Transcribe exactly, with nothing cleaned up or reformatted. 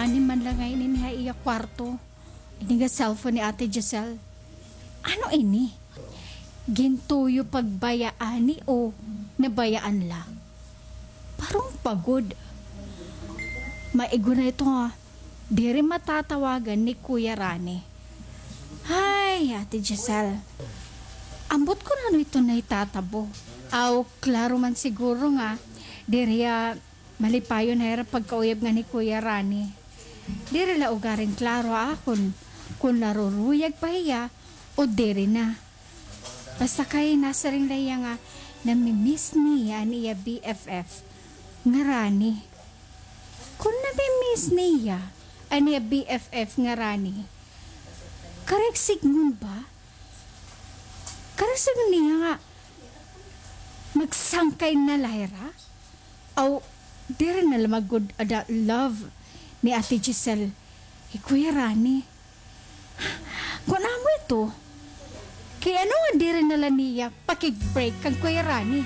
Ani man la ngay-an ini ha iya kwarto. Ini nga cellphone ni Ate Giselle. Ano ini? Gintuyo pa baya ani o nabayaan la? Parang pagod. Maigo na ito nga diri matatawagan ni Kuya Rani. Ay, Ate Giselle. Ambot kon ano ito nga itatabo. Aw, klaro man siguro nga diri, ah, malipayon ha ira pagkauyab ngan hi Kuya Rani. Diri la ugaring klaro ha akon kon naruruyag pa hiya o diri na. Basta kay nasiring la hiya nga nami-miss niya an iya B F F nga Rani. Kon nami-miss niya an iya B F F nga Rani, karuyag sidngon ba? Karuyag sidngon niya nga magsangkay na la hira? Aw, diri na la magud ada love ni Ate Giselle hi Kuya Rani. Kon amo ito, kay ano nga diri na la niya pakig-break kan Kuya Rani?